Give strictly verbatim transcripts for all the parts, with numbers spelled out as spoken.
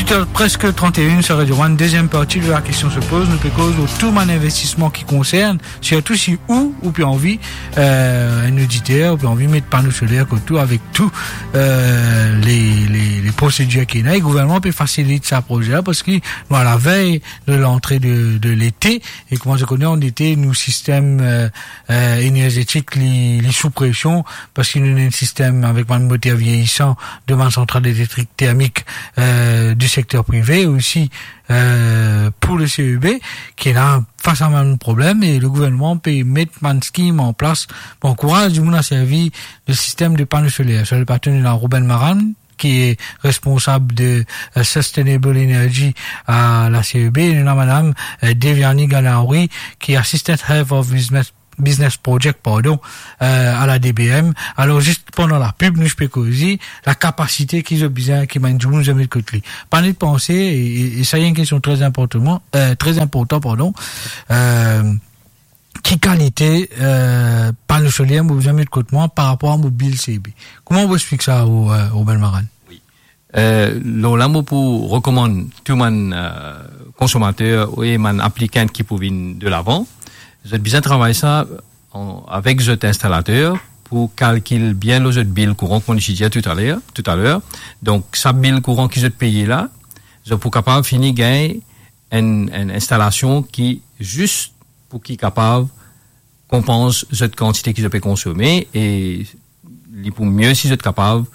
Preske trant-e-enn, sa Radio One, deziem parti de La Question Se Pose, nou pe koz lor tou bann investisman ki konsern, sirtou si ou, ou pe anvi, euh, enn oditer, ou pe anvi met pano soler kot ou avek tou, euh, le, le, le prosedir ki ena, e gouvernman pe fasilit sa proze la, parski nou a lavey de lantre de, de lete, e kouma zot kone, an ete, nou sistem, euh, euh, enerzetik, li, li sou presion, parski nou ena enn sistem avek bann moter vieyisan de bann santral elektrik termik, euh, di sekter prive, osi, euh, pou le C E B, ki ena fas a bann problem, e le gouvernman pe met bann skim an plas pou ankouraz dimoun a servi le sistem de pano soler. Sir le plato, nou ena Ruben Maran, ki responsab de, euh, Sustainable Energy a la C E B, e nou ena madam, euh, Devyani Ganauri, ki Assistant Head of Business, Business Project, pardon, euh, a la D B M. Alor, zis pandan lapib, nou pe koze lakapasite ki zot bizin, ki bann dimoun zot met kot li. Pa net panse, e, e, e sa, enn kestion tre inportan, euh, tre inportan, pardon, euh, ki kalite, euh, pano soler mo bizin met kot mwa par rapor a mo bil C B? Kouma ou explik sa, ou, euh, Ruben Maran? Wi. Euh, lor la, mo pou rekomann tou bann, euh, konsomater e bann aplikan ki pou vinn de lavan, zot bizin travay sa an, avek zot instalater pou kalkil bien lor zot bil kouran, kouma nou ti dir toutaler, toutaler. Donk, sa bil kouran ki zot peye la, zot pou kapav fini gagn enn, enn instalasion ki zis pou ki kapav konpans zot kantite ki zot pe konsome, e li pou mie si zot kapav,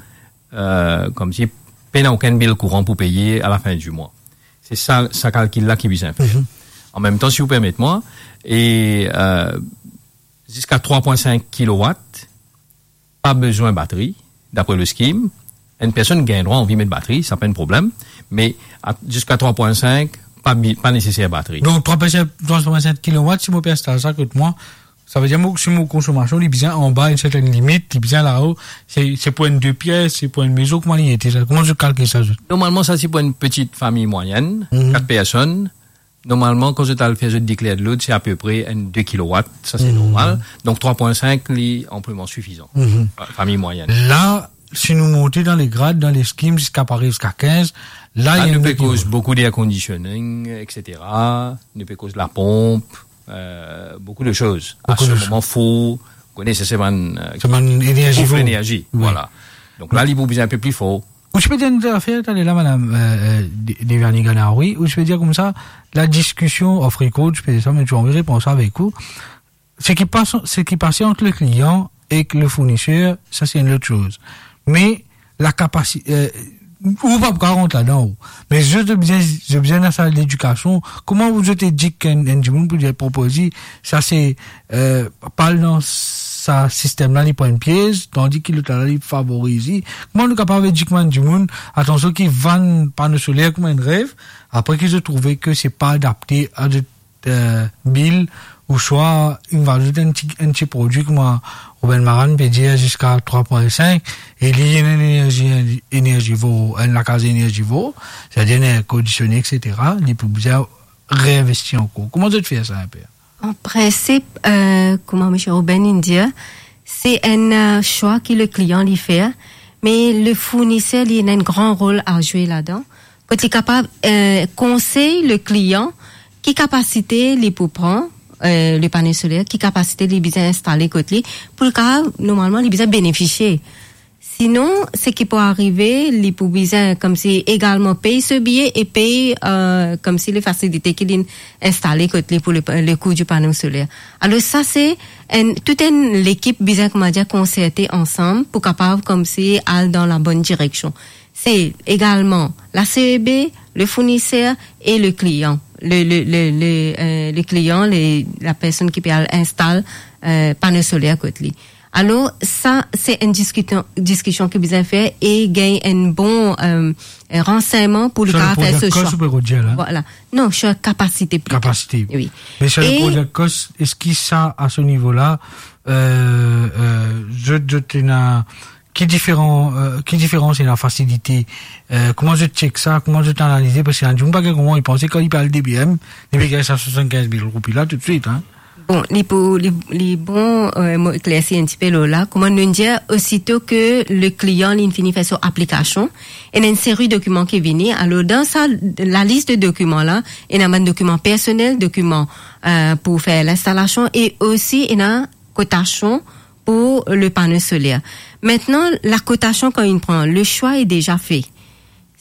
euh, koumsi pena okenn bil kouran pou peye a la fin di mwa. Se sa, sa kalkil la ki bizin fer. Mhm. An mem tan, si ou permet mwa, e, euh, ziska trwa pwin sink kilowat, pa bizin batri, dapre le skim. Enn personn gagn drwa anvi met batri, sa pa enn problem, me a, ziska trwa pwin sink, pa bi-, pa neseser batri. Donk, trwa pwin sink, trwa pwin sink kilowat, si mo pe instal sa kot mwa, sa ve dir mo, si mo konsomasion, li bizin anba enn sertenn limit, li bizin lao, se, se pou enn de pies, se pou enn mezon, kouma li ete sa? Kouma zot kalkil sa, zot? Normalman, sa se pou enn peti fami mwayenn, mhm, kat personn. Normalman, kan zot al fer zot declare de load, se apepre enn de kilowat, sa se, mhm, normal. Donk, trwa pwin sink, li anpleman sifizan. Mhm. Fa-, fami mwayenn. La, si nou monte dan le grad, dan le skim, ziska, par egzanp, ziska kinz, la, la, nou pe koz boukou d'air conditioning, et cetera. Nou pe koz laponp, euh, boukou de soz. Boukou de soz. Asemoman, four, ou kone, se, se bann, euh, se bann enerzivo. Enerzi, wi, vwala. Donk la, li pou bizin enn pe pli for. Ou ti pe dir enn zafer taler la, madam, euh, euh, De-, Devyani Ganauri, ou ti pe dir koumsa, la diskision off record, ti pe dir sa, me ti anvi repran sa avek ou. Seki pas-, seki pase ant le klian ek le fourniser, sa se enn lot soz. Me la kapasi-, euh, ou pa pou kapav rant ladan, ou. Me zot, zot bizin, zot bizin dan sa ledikasion. Kouma zot edik enn, enn dimoun pou dir, propoz li, sa se, euh, pa al dan sa sistem la, li pran enn piez, tandi ki lot la, li favoriz li. Kouma nou kapav edik bann dimoun, atansion, ki vann pano soler kouma enn rev, apre ki zot trouve ke se pa adapte a zot, euh, bil, ouswa inn azout enn ti, enn ti prodwi, kouma Ruben Maran pe dir, ziska trwa pwin sink, e li ena enn enerzi, enerzivo, enn lakaz enerzivo, setadir enn air conditionné, et cetera, li pou bizin reinvesti ankor. Kouma zot fer sa enpe? An prinsip, euh, kouma misie Ruben inn dir, se enn, euh, swa ki le klian li fer, me le fourniser li ena enn gran rol a zwe ladan. Kot li kapav, euh, konsey le klian ki kapasite li pou pran, euh, le pano soler, ki kapasite li bizin instale kot li, pou li kapav, normalman, li bizin benefisie. Sinon, seki pou arive, li pou bizin koumsi egalman pey so biye e pey, euh, koumsi le fasilite ki li instale kot li pou le, le kou di pano soler. Alor sa se enn, tou enn lekip bizin, kouma dir, konserte ansam pou kapav koumsi al dan la bonn direksion. Se egalman la C E B, le fourniser e le klian. Le, le, le, le, euh, le klian, le, la personn ki pe al instal, euh, pano soler kot li. Alor, sa, se enn diskision, diskision ki bizin fer e gagn enn bon, euh, ransegnman pou li kapav fer so swa. Sir le project cost, ou pe redir la? Vwala. Non, sir kapasite plito. Kapasite. Wi. Me sir le project cost, eski sa, a se nivo la, euh, euh, zot, zot ena, ki diferan, euh, ki diferans ena fasilite, euh, kouma zot check sa, kouma zot analize, parski ena dimoun pa gagn kouma, li panse kan li pe al D B M, li pe gagn sa swasannkinz mil roupi la toutswit, hein. Bon, li pou, li, li bon, euh, mo eklersi enn tipe lor la. Kouma nou dir, osito ke le klian li fini fer so aplikasion, ena enn seri dokiman ki vini. Alor, dan sa, lalis de dokiman la, ena bann dokiman personel, dokiman, euh, pou fer linstalasion e osi ena kotasion pou le pano soler. Aster, lakotasion kan inn pran, le swa est déjà fait.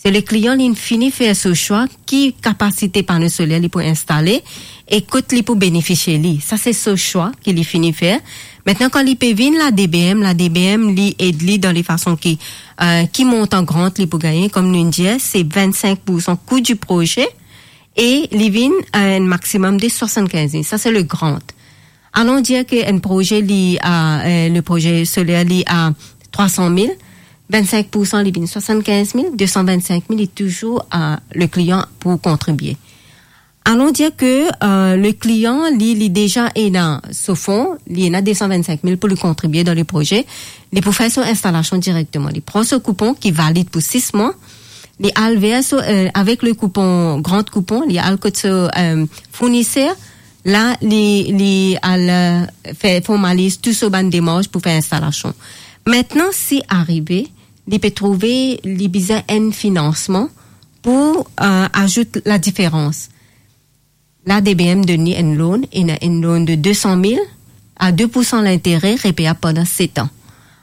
Se le klian li fini fer so swa, ki kapasite pano soler li pou instale e kot li pou benefisie li. Sa se so swa ki li fini fer. Aster, kan li pe vinn la D B M, la D B M li ed li dan le fason ki, euh, ki montan grant li pou gagne, kouma nou dir, se vennsenk poursan kou di proze e li vinn a enn maximum de swasann-kinz mil. Sa se le grant. Alon dir ke enn proze li a, euh, le proze soler li a trwa san mil, vennsenk poursan li vinn swasann-kinz mil, de san vennsenk mil li touzour a le klian pou kontribie. Alon dir ke, euh, le klian li, li deza ena so fon, li ena de san vennsenk mil pou li kontribie dan le proze, li pou fer so instalasion direkteman. Li pran so koupon ki valid pou sis mwa, li al ver so, euh, avek le koupon, grant koupon, li al kot so, euh, fourniser, la li, li al, euh, fer formaliz tou so bann demars pou fer instalasion. Aster, si arive, li pe trouve li bizin enn finansman pou, euh, azout ladiferans. La D B M donn li enn loan, ena enn loan de de san mil a de poursan lintere, repeyab pandan set an.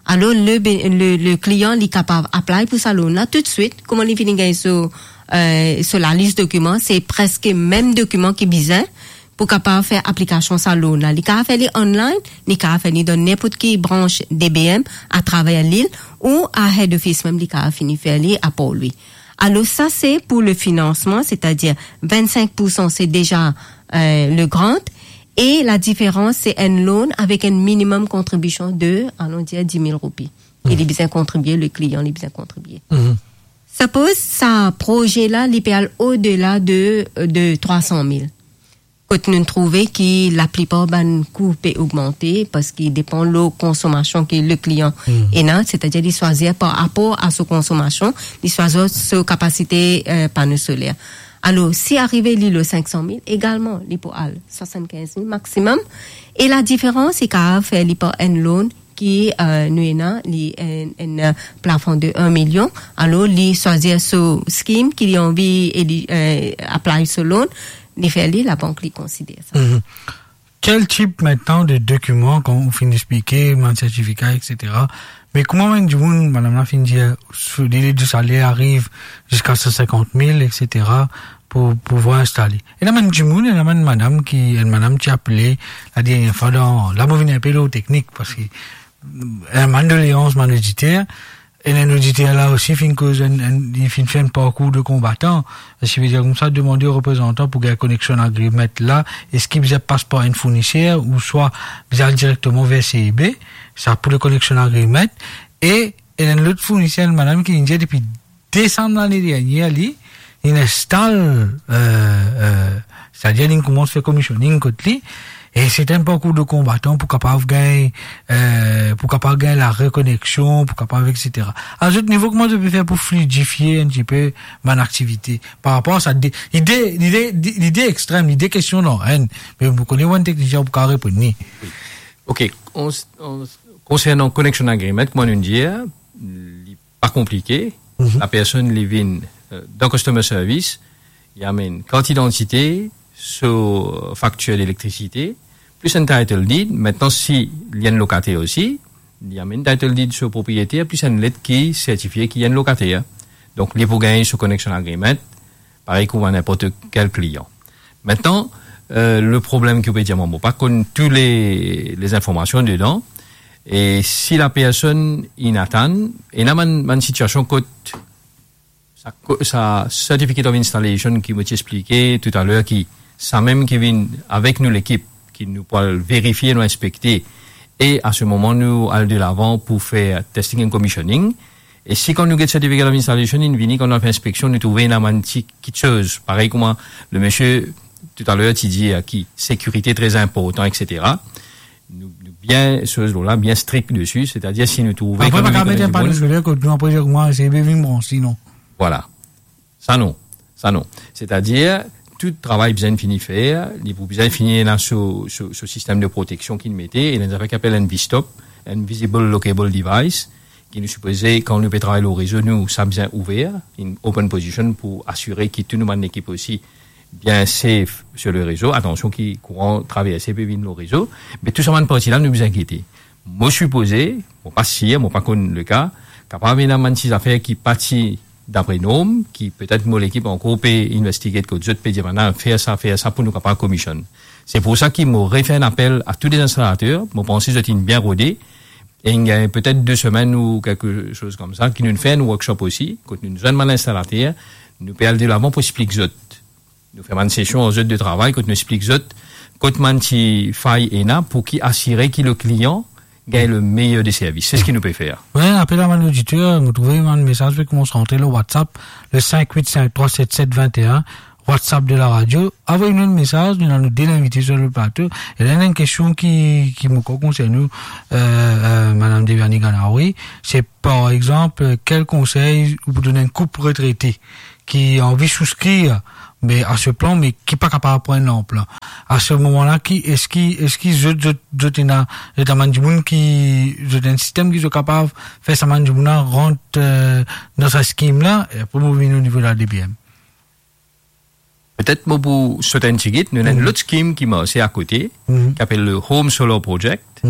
Alor, le be-, le, le klian li kapav apply pou sa loan la toutswit, kouma li fini gagn so, euh, so lalis dokiman, se preske mem dokiman ki bizin pou kapav fer aplikasion sa loan la. Li kapav fer li online, li kapav fer li dan ninport ki brans D B M atraver lil ou a head office mem li kapav fini fer li apar li. Alor, sa se pou le finansman, setadir vennsenk poursan se deza, euh, le grant, e ladiferans se enn loan avek enn minimum kontribision de, alon dir, dis mil roupi. E li bizin kontribie, le klian li bizin kontribie. Suppose sa proze la, li pe al odela de, de trwa san mil. Kot nou trouve ki laplipar bann kou pe ogmante, parski depan lor konsomasion ki le klian ena, setadir li swazir par rapor a so konsomasion, li swazir so kapasite, euh, pano soler. Alor, si arive li lor sink san mil, egalman, li pou al swasann-kinz mil maximum. E ladiferans, li kapav fer li par enn loan ki, euh, nou ena, li enn, enn, euh, plafon de enn milion. Alor, li swazir so scheme ki li anvi e li, euh, apply so loan, li fer li, labank li konsider sa. Kel tip aster de dokiman, kan ou finn explike, bann sertifika, et cetera. Me kouma bann dimoun, madam la finn dir, so, le, le saler ariv ziska san sinkant mil, et cetera, pou, pou pouvwar instale. Ena bann dimoun, ena bann madam ki, enn madam ti apele, ladernie fwa dan, la mo vinn enpe lor teknik, parski, euh, bann doleans, bann oditer, e enn oditer la osi finn koz enn, enn, li finn fer enn parkour de konbatan. Sa vedir koumsa, demande o reprezantan pou gagn connection agreement la, eski bizin pas par enn fourniser ouswa bizin al direkteman ver C E B, sa pou le connection agreement, e, e enn lot fourniser, enn madam ki vinn dir depi desam lane dernier, li, li instal, euh, euh, setadir li koumans fer commissioning kot li, e se enn parkour de konbatan pou kapav gagn, euh, pou kapav gagn la rekoneksion, pou kapav, et cetera. A zot nivo, kouma zot pe fer pou fluidifie enn tipe bann aktivite par rapor a sa de, lide, lide, lide extrem, lide kestion dan enn, me mo kone bann teknisien pou kapav reponn li. Ok, an, an, konsernan connection agreement, kouma nou dir, li pa konplike. Lapersonn li vinn, euh, dan customer service, li amenn kart idantite, so faktir delektrasite, plis enn title deed. Aster, si li enn lokater osi, li amenn title deed so propriyeter, plis enn let ki sertifie ki li enn lokater. Donk, li pou gagn so connection agreement, parey kouma ninport kel klian. Aster, euh, le problem ki ou pe dir mwa, mo pa konn tou le, le zinformasion dedan. E si lapersonn inn atann, ena bann, bann sitiasion kot sa ko-, sa certificate of installation ki mo ti explike toutaler, ki sa mem ki vinn avek nou lekip, ki nou pou al verifie, nou inspekte, e a se moman nou al delavan pou fer testing and commissioning. E si kan nou get certificate of installation, inn vini, kan nou al fer inspeksion, nou trouve ena bann ti kiksoz, parey kouma le misie toutaler ti dir, ki sekirite tre inportan, et cetera. Nou, nou bien, soz la, bien strik desi, setadir si nou trouve... Apre, kan pa nou kapav met enn pano soler kot nou, apre, kouma, se bien vinn branse, non? Vwala. Sa non. Sa non. Setadir, tou travay bizin fini fer, li pou bizin fini ena so, so, so sistem de proteksion ki nou mete, ena enn zafer ki apel enn V stop, Invisible Lockable Device, ki nou sipoze, kan nou pe travay lor rezo, nou sa bizin ouver, in open position pou asire ki tou nou bann lekip osi bien safe sur le rezo. Atansion ki kouran traverse pe vinn lor rezo. Me tou sa bann parti la, nou bizin gete. Mo sipoze, mo pa sir, mo pa konn leka, kapav ena bann ti zafer ki pa ti dapre norm, ki petet mo lekip ankor pe investigate kot zot, pe dir, "Bann fer sa, fer sa pou nou kapav komisionn." Se pou sa ki mo refer enn apel a tou les instalater, mo panse zot inn bien rode, e inn gagn petet de semenn ou kelke soz koumsa, ki nou fer enn workshop osi, kot nou zwenn bann instalater, nou pe al delavan pou explik zot. Nou fer bann sesion ar zot de travay, kot nou explik zot, kot bann ti fay ena, pou ki asire ki le klian gagn le meyer de servis. Se seki nou pe fer. Wi, apel a bann oditer, mo trouve bann mesaz pe koumans rantre lor WhatsApp, le cinq huit cinq trois sept sept vingt et un, WhatsApp de la radio. Avoy nou enn mesaz, nou ena nou de linvite sur le plato. E la, ena enn kestion ki, ki mo krwar konsern ou, euh, euh, Madame Deviani Ganawi, se par exanp, euh, kel konsey ou pou donn enn koup retrete ki anvi souskrir, me a se plan, me ki pa kapav pran enn lanplan. A se moman la, ki, eski, eski zot, zot, zot ena, zot ena bann dimoun ki, zot ena enn sistem ki zot kapav fer sa bann dimoun la rant, euh, dan sa skim la, e apre mo vinn o nivo la D B M. Petet mo pou sot enn tigit, nou ena enn lot skim ki marse akote, ki apel le Home Solar Project,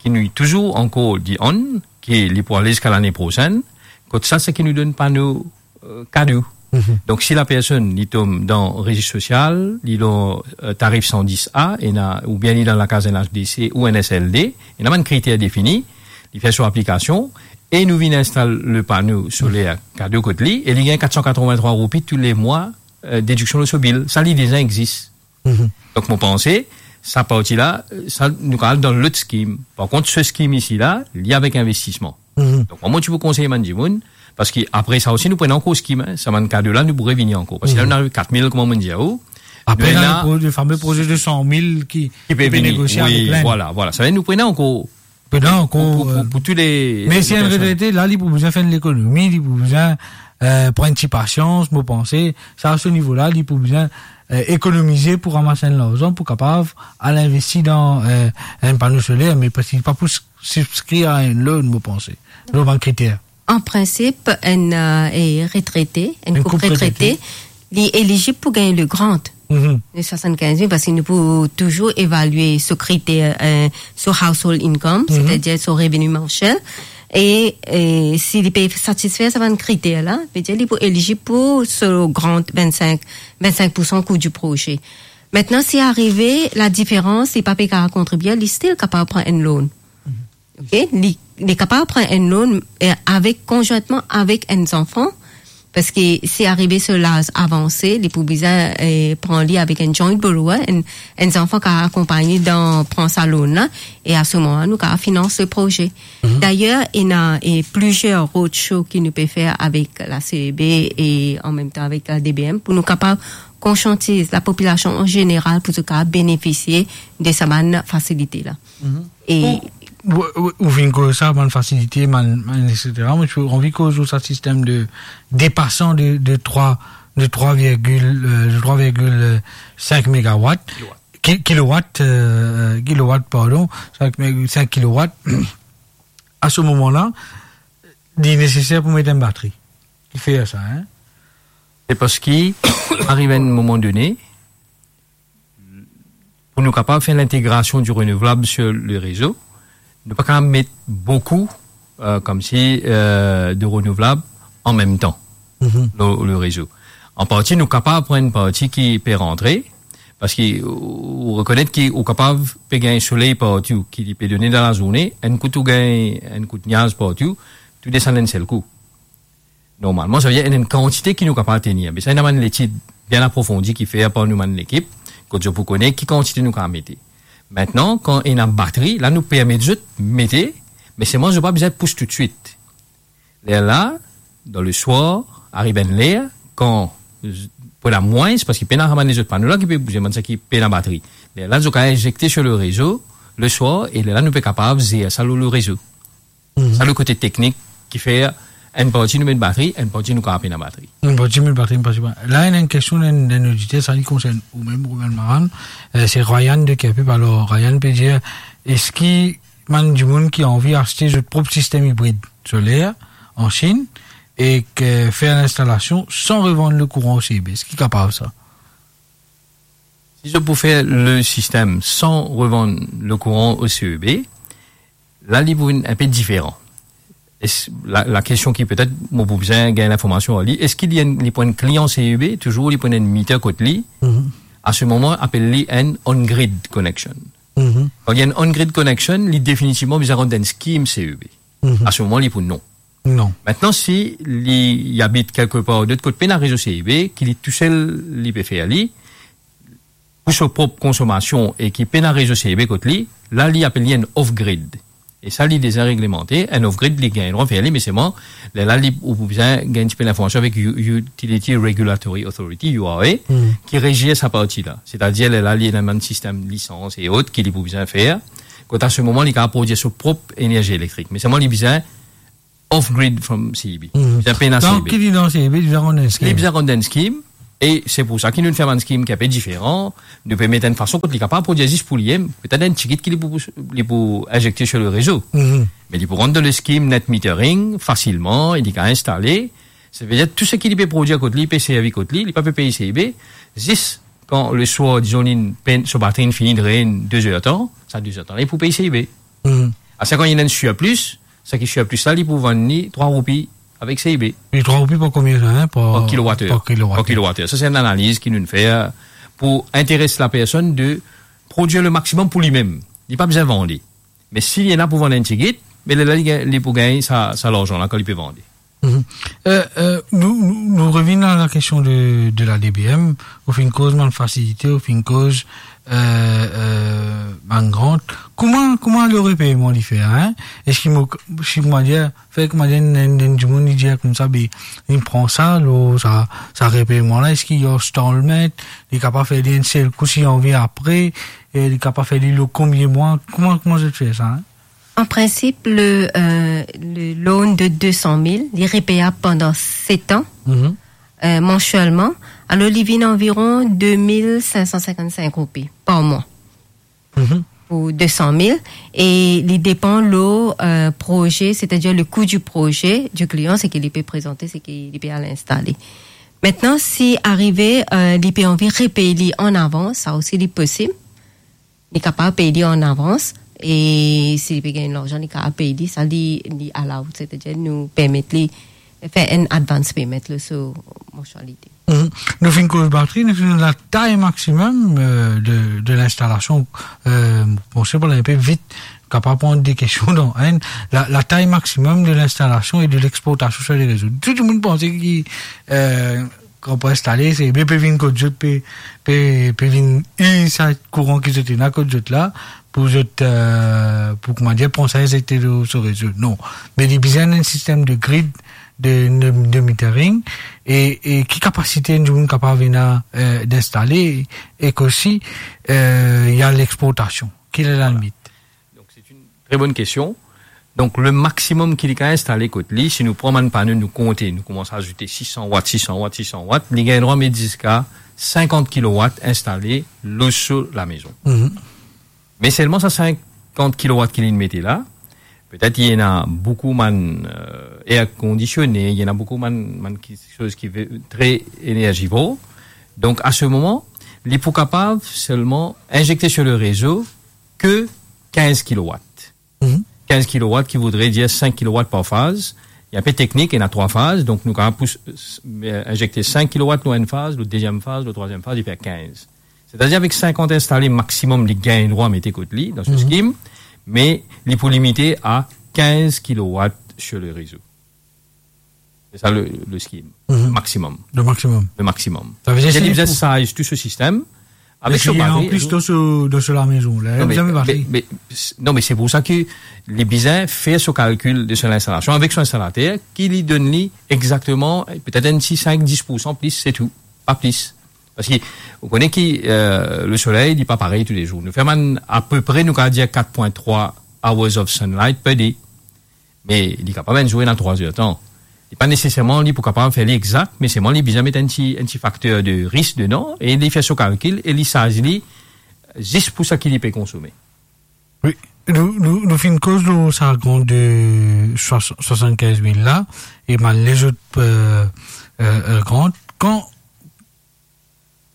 ki nou touzour ankor di an, ki li pou ale ziska lane prosenn, kot sa, seki nou donn pano, euh, kado. Donk, si lapersonn, li tom dan rezis sosial, li lor, euh, tarif san dis A, ena, oubien li dan lakaz enn H D C ou enn S L D, ena bann kriter defini, li fer so aplikasion, e nou vinn instal le pano soler kado kot li, e li gagn kat san katrovin-trwa roupi tou le mwa, euh, dediksion lor so bil. Sa, li deza exis. Donk, mo panse, sa parti la, euh, sa, nou kapav al dan lot skim. Par kont, se skim isi la, li avek investisman. Donk, mwa, mo ti pou konsey bann dimoun, parski apre sa osi, nou pran ankor skim, hein, sa bann kado la, nou pou revini ankor. Parski la, nou ariv kat mil, kouma mo dir ou. Apre, nou ena le pro-, le fame proze de san mil ki, ki pe ki pe vini, negosie avek Lind. Vwala, vwala. Sa ve dir nou pran ankor Pou, pou, pou, euh, pou tou le, me le si enn personn retrete, la, li pou bizin fer enn lekonomi, li pou bizin, euh, pran enn ti pasians, mo panse, sa, a se nivo la, li pou bizin, euh, ekonomize pou ramas enn larzan, pou kapav al investi dan, euh, enn pano soler, me parski li pa pou s-, sibskrir a enn loan, mo panse. Lor bann kriter. An prinsip, enn, euh, e retrete, enn koup retrete, li elizib pou gagn le grant de swasannkinz mil, parski nou pou touzour evalie so kriter, euh, so household income, setadir so reveni mansiel. E, e si li pe satisfer sa bann kriter la, vedir li pou elizib pou so grant vennsenk, vennsenk poursan kou di proze. Aster, si arive ladiferans, li pa pe kapav kontribie, li still kapav pran enn loan. Ok, li, li kapav pran enn loan, eh, avek, konzwintman avek enn zanfan, parski si arive so laz avanse, li pou bizin, eh, pran li avek enn joint borrower, enn, enn zanfan ki akonpagn li dan pran sa loan la, e a se moman la, nou kapav finans le proze. Dayer, ena, eh, plizier roadshow ki nou pe fer avek la C E B e an mem tan avek la D B M pou nou kapav konsiantiz lapopilasion an zeneral pou zot kapav benefisie de sa bann fasilite la. E ou, ou, ou, ou finn koz sa, bann fasilite, bann, bann, et cetera. Mo ti anvi koz lor sa sistem de depasan de, de trwa, de trwa virgil, euh, de trwa virgil sink megawatt. Kilowatt. Ki-, kilowatt, euh, kilowatt, pardon, sink mé-, sink kilowatt. A se moman la, li neseser pou met enn batri. Ki fer sa, hein? Se parski, ariv enn moman done, pou nou kapav fer lintegrasion di renouvlab sur le rezo, nou pa kapav met boukou, euh, koumsi, euh, de renouvlab an mem tan lor le rezo. An parti, nou kapav pran enn parti ki pe rantre, parski ou, ou rekonet ki ou kapav pe gagn soley partou, ki li pe done dan lazourne, enn kout ou gagn enn kout niaz partou, tou desann enn sel kou. Normalman, sa ve dir ena enn kantite ki nou kapav tenir. Me sa, ena bann letid bien aprofondi ki fer par nou bann lekip, kot zot pou kone ki kantite nou kapav mete. Aster, kan ena batri, la nou permet zot mete, me selman zot pa bizin pous toutswit. Lerla, dan le swar, ariv enn ler, kan z-, pou ena mwins, parski pena sa bann lezot pano la ki pe bouze, bann sa ki pena batri. Lerla, zot kapav inzekte sur le rezo, le swar, e lerla nou pe kapav zer sa lor le rezo. Sa le kote teknik ki fer Enn parti nou met batri, enn parti nou kapav pena batri. Enn parti met batri, enn parti pa. La, ena enn kestion, enn, enn oditer, sa li konsern ou mem, Roman Maran, eh, se Ryan de Kerpip. Alor, Ryan pe dir, eski bann dimoun ki anvi aste zot prop sistem ibrid soler an Chinn ek fer linstalasion san revann lekouran o C E B, eski kapav sa? Si zot pou fer le sistem san revann lekouran o C E B, la, li pou vinn enpe diferan. Es-, la, la kestion ki petet mo pou bizin gagn linformasion ar li, eski li enn, li pou enn klian C E B, touzour li pou enn meter kot li? Mhm. A se moman, apel li enn on-grid connection. Mhm. Kan li enn on-grid connection, li definitivman bizin rant dan enn scheme C E B. Mhm. A se moman, li pou non. Non. Aster, si li, li abit kelkepar lot kot pena rezo C E B, ki li tousel li pe fer li, pou so prop konsomasion e ki pena rezo C E B kot li, la, li apel li enn off-grid. E sa, li deza reglemante, enn off-grid, li gagn drwa fer li, me selman, lerla, li, ou pou bizin gagn tipe linformasion avek U-, Utility Regulatory Authority, U R A, Hmm. ki rezir sa parti la. Setadir, lerla, li ena bann sistem lisans e ot ki li pou bizin fer. Kot a se moman, li kapav prodwir so prop enerzi elektrik. Me selman, li bizin off-grid from C E B. Mhm. Bizin pena Donk, C E B. Ki li dan C E B, li bizin rant enn scheme. Li bizin rant enn scheme, e se pou sa ki nou fer bann scheme ki enpe diferan. Nou pe met enn fason kot li kapav prodwir zis pou li mem, petet enn tigit ki li pou, li pou inzekte sur le rezo. Mhm. Me li pou rant dan le scheme net metering fasilman, e li kapav instale. Savedir tou seki li pe prodwir kot li, li pe servi kot li, li pa pe pey C E B. Zis kan le swar, dizon, li pe, so batri inn fini drenn de zer tan, sa de zer tan la, li pou pey C E B. Mhm. Aster, kan li ena enn surplus, sa ki surplus la, li pou vann li trwa roupi avek C E B. E trwa roupi par konbien sa, hein, par, Par kilowater. par kilowater. Par kilowater. Sa, se enn analiz ki nou fer pou interes lapersonn de prodwir le maximum pou li mem. Li pa bizin vann li. Me si li ena pou vann enn tigit, me lerla li gagn, li pou gagn sa, sa larzan la kan li pe vann li. Mhm. Euh, euh, nou, nou, nou revinn a la kestion de, de la D B M. Ou finn koz bann fasilite, ou finn koz, euh, euh, bann grant. Kouma, kouma le repeyman li fer, hein? Eski mo, si mo dir, fer kouma dir, enn, enn, enn dimoun li dir koumsa, be, li pran sa, lo, sa, sa repeyman la, eski li installment, li kapav fer li enn sel kou si li anvi apre, e li kapav fer li lo konbien mwa? Kouma, kouma zot fer sa, hein? An prinsip, le, euh, le loan de de san mil, li repeyab pandan set an, Mhm. euh, mansielman. Alor, li vinn anviron de mil sink san sinkant-sink roupi par mwa Mhm. pou de san mil. E li depan lo, euh, proze, setadir le kou di proze di klian, seki li pe prezante, seki li pe al instale. Aster, si arive, euh, li pe anvi repey li an avans, sa osi li posib. Li kapav pey li an avans, e si li pe gagn larzan, li kapav pey li, sa li, li allowed, setadir nou permet li fer enn advance payment lor so mansialite. Mhm. Nou finn koz batri, nou finn latay maximum, euh, de, de linstalasion. Euh, bon, se pou enn pe vit, kapav pran de kestion dan enn, la, latay maximum de linstalasion e de lexportasion sur le rezo. Tou dimoun panse ki, euh, kan pou instale, se, be, pe vinn kot zot, pe, pe, pe vinn ir sa kouran ki zot ena kot zot la, pou zot, euh, pou, kouma dir, pran sa, inzekte lor so rezo. Non. Me li bizin enn sistem de grid, de, de, de metering, e, e ki kapasite enn dimoun kapav ena, euh, d'instale, e osi, euh, ena lexportasion. Ki ena la limit? Donk, se enn tre bonn kestion. Donk, le maximum ki li kapav instale kot li, si nou pran bann pano, nou konte, nou koumans azoute sis san watt, sis san watt, sis san watt, li gagn drwa met ziska sinkant kilowatt instale lor so lamezon. Mhm. Me selman sa sinkant kilowatt ki li mete la, petet li ena boukou bann, euh, air conditionned, li ena boukou bann, bann kiksoz ki ve-, tre energivore. Donk, a se moman, li pou kapav selman inzekte sur le rezo ke kinz kilowatt. Mhm. Kinz kilowatt ki voudre dir sink kilowatt par faz. Li enpe teknik, ena trwa faz, donk nou kapav pous, euh, inzekte sink kilowatt lor enn faz, lor deziem faz, lor trwaziem faz, li fer kinz. Setadir avek sinkant instale maximum li gagn drwa mete kot li dan so Mhm. scheme, me li pou limite a kinz kilowatt sur le rezo. Se sa le, le scheme. Mhm. Maximum. Le maximum. Le maximum. Savedir Li si li bizin pou size tou so sistem, avek so batri, an plis dan so, dan so lamezon la, Non, me, zame batri. me, me, s-, non, me se pou sa ki li bizin fer so kalkil de so linstalasion avek so instalater, ki li donn li exakteman, petet enn ti sink, dis poursan plis, se tou. Pa plis. Parski, ou kone ki, euh, le soley, li pa parey toulezour. Nou fer bann, apepre, nou kapav dir kat pwin trwa hours of sunlight per day. Me li kapav enn zour ena trwa zer tan. Li pa neseserman li pou kapav fer li exak, me selman li bizin met enn ti, enn ti fakter de risk dedan, e li fer so kalkil, e li sarz li zis pou seki li pe konsome. Wi, nou, nou, nou finn koz lor sa grant de swa-, swasann-kinz mil la, e bann lezot, euh, euh, euh, grant. Kan,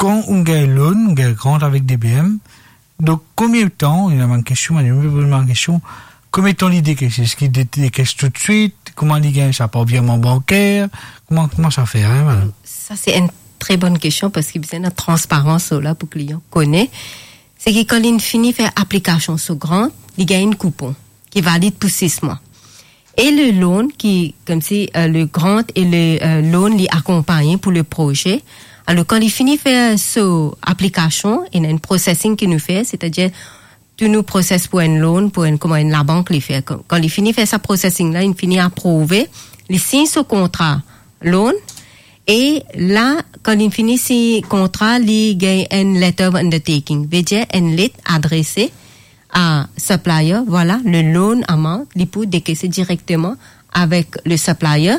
kan ou gagn loan, ou gagn grant avek D B M, donk, konbien tan, ena bann kestion, bann dimoun pe poz mwa kestion, konbien tan li dekes? Eski li de-, dekes toutswit? Kouma li gagn sa, par virman banker? Kouma, kouma sa fer, hein, madam? Sa, se enn tre bonn kestion, parski bizin ena transparans la pou klian kone. Se ki kan li fini fer aplikasion so grant, li gagn enn koupon ki valid pou sis mwa. E le loan ki, koumsi, euh, le grant e le, euh, loan, li akonpagn pou le proze. Alor, kan li fini fer so aplikasion, ena enn processing ki nou fer, setadir tou nou process pou enn loan, pou enn, kouma enn labank li fer. Kan, kan li fini fer sa processing la, li fini aprouve, li sign so kontra loan, e la, kan li fini sign kontra, li gagn enn letter of undertaking, vedir enn let adrese a supplier, vwala, le loan amount, li pou dekese direkteman avek le supplier,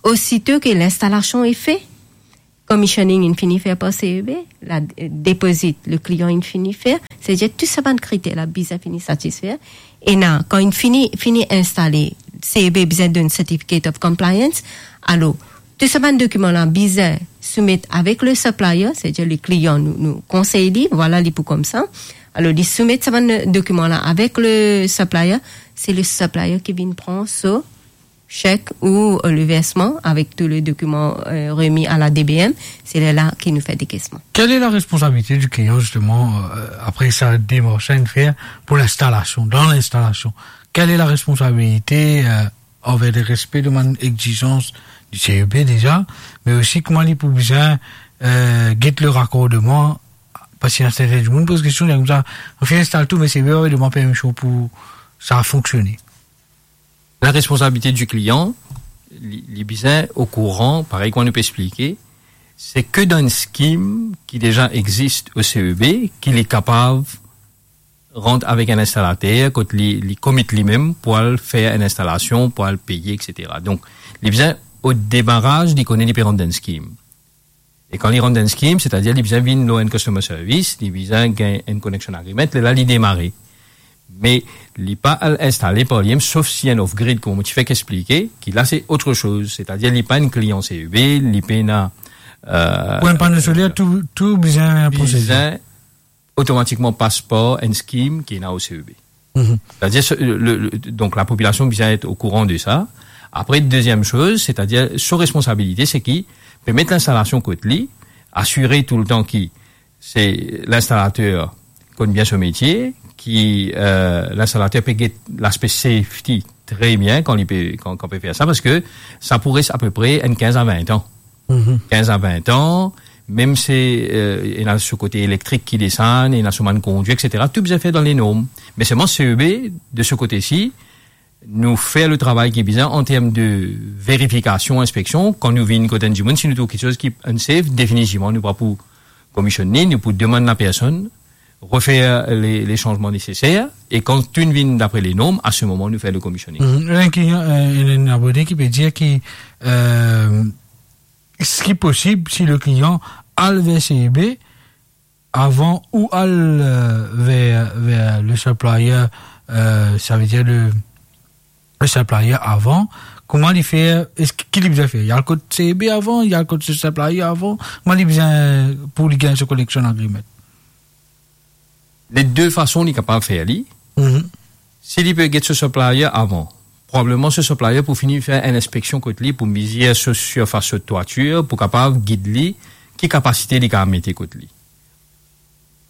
osito ki linstalasion est fait, commissioning inn fini fer par C E B, la, euh, deposit, le klian inn fini fer, setadir tou sa bann kriter la bizin fini satisfer. E la, kan inn fini, fini instale, C E B bizin donn certificate of compliance. Alor, tou sa bann dokiman la bizin soumet avek le supplier, setadir le klian, nou, nou konsey li, vwala, li pou koumsa. Alor, li soumet sa bann dokiman la avek le supplier, se le supplier ki vinn pran so sek ou, euh, le versman avek tou le dokiman, euh, remi a la D B M, se lerla ki nou fer dekesman. Quelle est la responsabilité du client, justement, euh, après sa demars inn fer pou linstalasion, dan linstalasion? Quelle est la responsabilité, euh, anver le respe de bann exizans di C E B deza, me osi kouma li pou bizin, euh, get le rakordman, parski ena sertin dimoun poz kestion, dir koumsa, nou finn instal tou, me C E B pa demann permision pou sa fonksione. La responsabilité du client, li, li bizin okouran, parey kouma nou pe explike, se ke dan enn skim ki deza existe o C E B, ki li kapav rant avek enn instalater, kot li, li commit limem pou al fer enn instalasion, pou al peye, et cetera. Donk, li bizin, o demaraz, li kone li pe rant dan enn skim. E kan li rant dan enn skim, setadir li bizin vinn lor enn customer service, li bizin gagn enn connection agreement, lerla li demare. Me li pa al instale par limem, sof si enn off-grid, kouma mo ti fek explike, ki la se otrsoz, setadir li pa enn klian C E B, li pena, euh, pou enn pano soler, tou, tou bizin prosede. Bizin otomatikman pas par enn skim ki ena o C E B. Mhm. Setadir, se, le, le, donk, lapopilasion bizin et okouran de sa. Apre, deziem soz, setadir, so responsabilite, se ki pe met linstalasion kot li, asire toultan ki se linstalater konn bien so metie, ki, euh, linstalater pe get laspe safety tre bien kan li pe, kan, kan pe fer sa, parski sa pou res apepre enn kinz a vin an. Mhm. Kinz a vin an, mem si, euh, ena so kote elektrik ki desann, ena so bann kondwi, et cetera, tou bizin fer dan le norm. Me selman C E B, de so kote si, nou fer le travay ki bizin an term de verifikasion, inspeksion. Kan nou vinn kot enn dimoun, si nou trouv kiksoz ki unsafe, definitivman, nou pa pou komisionn li, nou pou demann lapersonn refer le, le sanzman neseser, e kan tou inn vinn dapre le norm, a se moman nou fer le commissioning. Mhm. Ena enn klian, euh, ena enn abone ki pe dir ki, euh, eski posib si le klian al ver C E B avan ou al, euh, ver, ver le supplier, euh, savedir le, le supplier avan, kouma li fer, eski, ki li bizin fer? Li al kot C E B avan, li al kot so supplier avan, kouma li bizin pou li gagn so connection agreement? Le de fason li kapav fer li. Mhm. Si li pe get so supplier avan, probableman so supplier pou fini fer enn inspeksion kot li pou mezir so sirfas so twatir, pou kapav gid li ki kapasite li kapav mete kot li.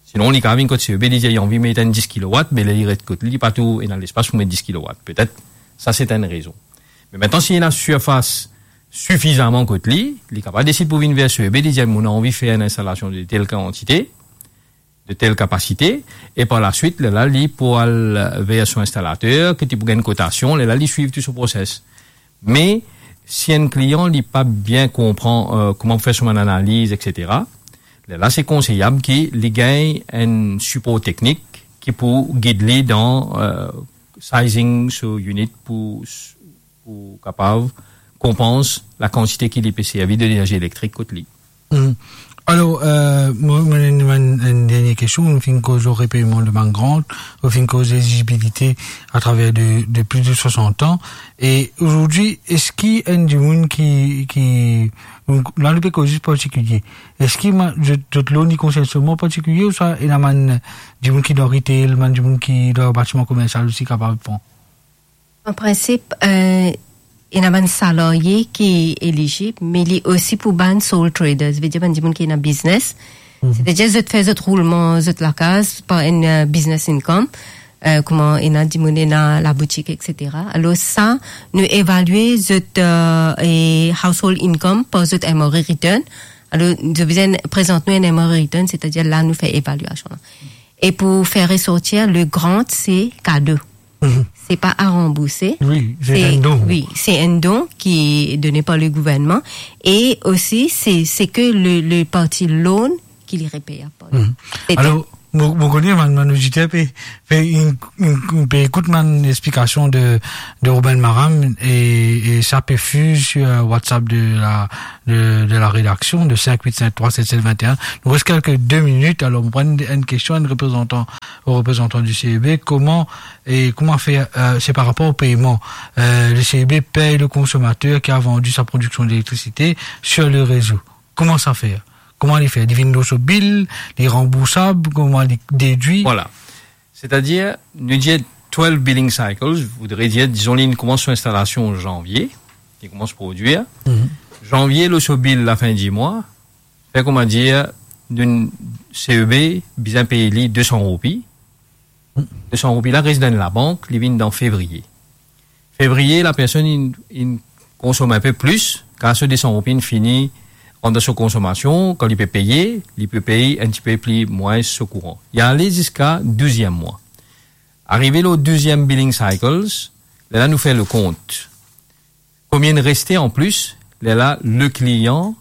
Sinon, li kapav vinn kot C E B, li dir li anvi met enn dis kilowatt, me ler li ret kot li, li pa tou ena lespas pou met dis kilowatt. Petet, sa se enn rezon. Me aster, si ena sirfas sifizaman kot li, li kapav desid pou vinn ver C E B, li dir, "Mo anvi fer enn instalasion de tel kantite, de tel kapasite," e par laswit, lerla, li pou al ver so instalater, ki ti pou gagn kotasion, lerla, li swiv tou so proses. Me si enn klian, li pa bien konpran, euh, kouma pou fer so bann analiz, et cetera, lerla, se konseyab ki li gagn enn sipor teknik ki pou gid li dan, euh, sizing so unit pou, pou kapav konpans lakantite ki li pe servi de lenerzi elektrik kot li. Hmm. Alor, euh, mo, mo ena enn, enn dernie kestion. Nou finn koz lor repeyman de bann grant, nou finn koz elizibilite atraver de, de plis de swasant an. E azordi, eski enn dimoun ki, ki, donk, la nou pe koz zis partikilie, eski ma-, zot, zot loan li konsern selman partikilie, ouswa ena bann dimoun ki dan retail, bann dimoun ki dan batiman komersial osi kapav pran? An prinsip, euh, ena bann salarye ki elizib, me li osi pou bann sole traders, vedir bann dimoun ki ena biznes. Mhm. Setadir zot fer zot roulman, zot lakaz par enn, euh, business income, euh, kouma ena dimoun ena laboutik, et cetera. Alor sa, nou evalie zot, euh, e household income par zot M R A return. Alor, zot bizin prezant nou enn M R A return, setadir la nou fer evaliasion la. E pou fer resortir, le grant, se kado. Mhm. Se pa a ranbourse. Wi, se enn don. Wi, se enn don ki done par le gouvernman. E osi, se, se ke le, le parti loan ki li repey apre. Mhm. Se Alor, mo, mo kone bann, bann oditer pe, pe in, in, pe ekout bann explikasion de, de Ruben Maran e, e sa pe fiz sur, euh, WhatsApp de la, de, de la rédaction de cinq huit cinq trois sept sept vingt et un. Nou res kelke de minit, alor mo pran enn, enn kestion, enn reprezantan, o reprezantan di C E B, kouma, e kouma fer, euh, se par rapor o peyman. Euh, le C E B pey le konsomater ki a vandi sa prodiksion delektrikte sur le rezo. Kouma sa fer? Kouma li fer? Li vinn lor so bil, li ranboursab, kouma li dedwi? Vwala. Setadir, nou dir twelve billing cycles, voudre dir, dizon, li koumans so instalasion zanvie, li koumans prodwir. Mhm. Zanvie, lor so bil lafin di mwa, fer koumadir, nou, C E B bizin pey li de san roupi. Mhm. De san roupi la res dan labank, li vinn dan fevriye. Fevriye, lapersonn inn, inn konsom inpe plis, kar so de san roupi inn fini rant dan so konsomasion, kan li pe peye, li pe pey enn tipe pli mwins so kouran. Li ale ziska douziem mwa. Arive lor douziem billing cycles, lerla nou fer lekont. Konbien reste an plis, lerla le client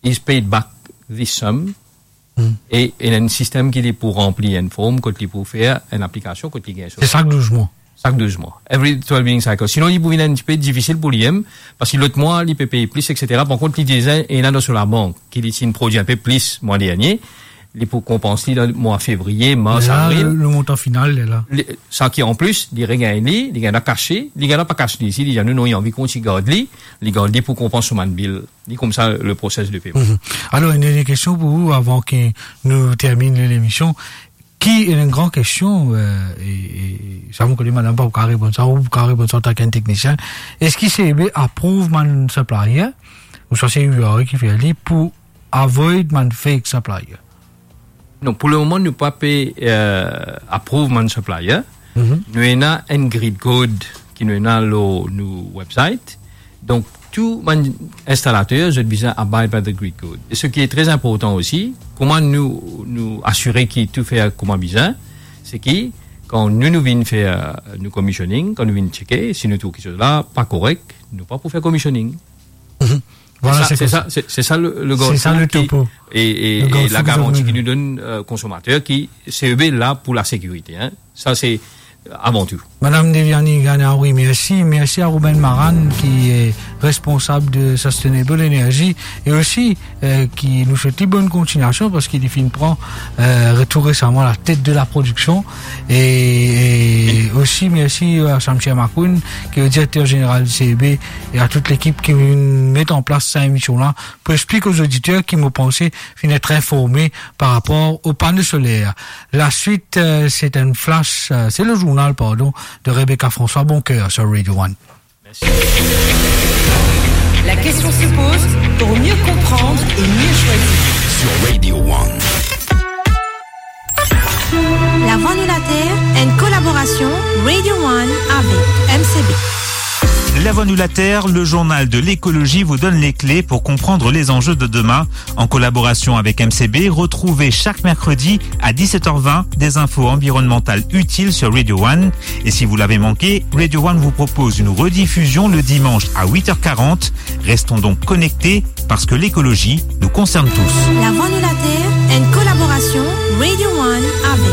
is paid back this sum, Hmm. e ena enn sistem ki li pou ranpli enn form, kot li pou fer enn aplikasion, kot li gagn so Se sak douz mwa. Sak douz mwa. Every twelve billing cycle. Sinon, li pou vinn enn tipe difisil pou li mem, parski lot mwa, li pe pey plis, et cetera. Par kont, li deza ena dan so labank, ki li ti inn prodwi inpe plis mwa dernie, li pou konpans li dan mwa fevriye, mars, La, avril. le, le montan final, li la. Li, sa ki an plis, li regagn li, li gagn kase, li gagn pa kas li isi, li dir nou non, li anvi kontign gard li, li gard li pou konpans so bann bil. Li koumsa le proses de peyman. Mhm. Alor, enn dernie kestion pou ou, avan ki nou terminn lemision. Ki, enn gran kestion, euh, e, e, sa mo kone madam pa pou kapav reponn sa, ou pou kapav reponn sa antank enn teknisien. Eski C E B aprouv bann supplier, ouswa se U R A ki fer li pou avoid bann fake supplier? Non, pou lemoman, nou pa pe, euh, aprouv bann supplier. Mhm. Nou ena enn grid code ki nou ena lor nou website. Donk, tou bann instalater, zot bizin abide by the grid code. E seki tre inportan osi, kouma nou, nou asire ki tou fer kouma bizin, se ki kan nou, nou vinn fer, euh, nou commissioning, kan nou vinn cheke, si nou trouv kiksoz la pa korek, nou pa pou fer commissioning. Mhm. Vwala, Se sa, se se sa, se, se sa le, le Se sa garde-fou le ki, topo. e, e, Le e garde-fou la ki garanti zot ki mete. nou donn, euh, konsomater, ki C E B la pou lasekirite, hein. Sa se, euh, avan tou. Madam Deviani Ganawi, mersi. Mersi a Ruben Maran, ki e responsab de Sustainable Energy, e osi, euh, ki nou swet li bonn kontignasion, parski li finn pran, euh, tou resaman latet de la prodiksion. E, e osi, mersi a Shamsia Makoun, ki e direkter zeneral C E B, e a tou lekip ki vinn met an plas sa emision la, pou explik o zoditer ki, mo panse, finn et informe par rapor o pano soler. Laswit, euh, se enn flash, euh, se le zournal, pardon, de Rebecca François. Bon cœur sur Radio One. La question se pose pour mieux comprendre et mieux choisir. Sur Radio One. Lavwa Nou Later, enn kolaborasion Radio One avek M C B. Lavwa Nou Later, le journal de l'écologie, vous donne les clés pour comprendre les enjeux de demain. En collaboration avec M C B, retrouvez chaque mercredi à dix-sept heures vingt des infos environnementales utiles sur Radio One. Et si vous l'avez manqué, Radio One vous propose une rediffusion le dimanche à huit heures quarante. Restons donc connectés parce que l'écologie nous concerne tous. Lavwa Nou Later, enn kolaborasion Radio One avek